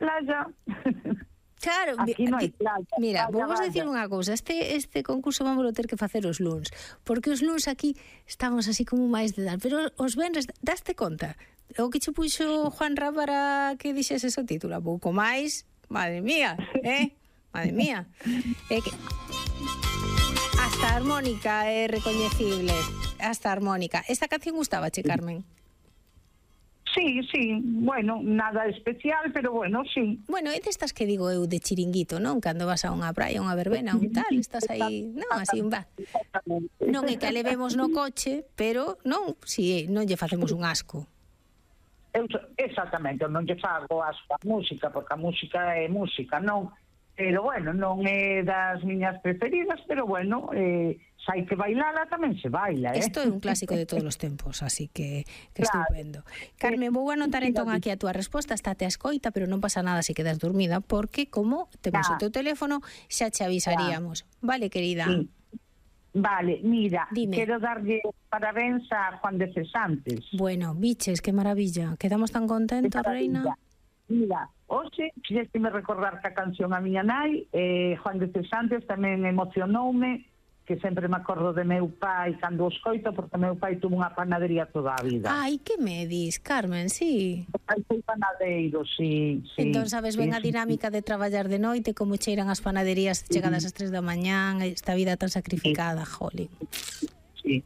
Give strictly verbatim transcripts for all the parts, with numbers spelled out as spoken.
playa. Claro, aquí non hai playa. Mira, playa, vamos a decir unha cousa, este este concurso vamos a ter que facer os luns, porque os luns aquí estamos así como máis de dar, pero os venres, daste conta? O que che puxo Juanra para que dixeses o título, a pouco máis, madre mía, eh? Madre mía. É que hasta a armónica é recoñecible, hasta a armónica. Esta canción gustabache, Carmen? Sí, sí, bueno, nada especial, pero bueno, sí. Bueno, é destas que digo eu de chiringuito, non? Cando vas a unha praia, unha verbena, un tal, estás aí, non, así un va. Non é que a levemos no coche, pero non, si non lle facemos un asco. Eu, exactamente, non lle fago asco a música, porque a música é música, non? Pero bueno, non é das miñas preferidas, pero bueno, eh, se hai que bailala tamén se baila, eh? Isto é un clásico de todos os tempos, así que, que claro. estupendo. Carmen, vou anotar entón aquí a túa resposta, estate a escoita, pero non pasa nada se quedas dormida, porque como temos claro. o teu teléfono, xa che avisaríamos. Claro. Vale, querida? Sí. Vale, mira, Dime. Quero darlle parabéns a Juan de Cesantes. Bueno, biches, que maravilla. Quedamos tan contentos, reina. Mira, hoxe, fixeste-me recordar que a canción a miña nai, eh, Juan de Cesantes tamén emocionoume, que sempre me acordo de meu pai cando o escoito, porque meu pai tuvo unha panadería toda a vida. Ai, que me dis, Carmen, sí. O pai foi panadeiro, sí, sí. Entón sabes ben sí, a dinámica sí. de traballar de noite, como cheiran as panaderías chegadas ás tres da mañán, esta vida tan sacrificada, sí. Jolín. Sí.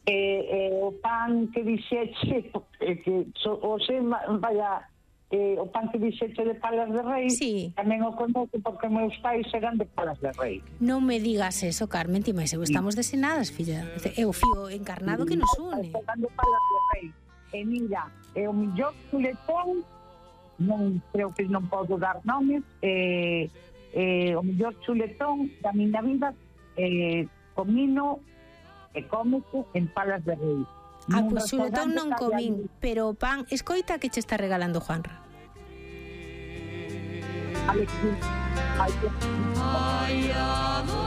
Eh, eh, o pan que dixeche, eh, que so, o se vaya... Eh, o pan que dixeche de Palas de Rei, sí. tamén o conoce porque meus pais eran de Palas de Rei. Non me digas eso, Carmen, ti máis eu estamos desenadas, filla. É o fío encarnado que nos une. Eran de Palas de Rei. E mira, é o millor chuletón, non creo que non podo dar nomes, eh, eh, o millor chuletón da miña vida, eh, comino e cómese en Palas de Rei. Ah, pois xuletón non comín, pero o pan, escoita que che está regalando Juanra. Alexis, ai, Ana,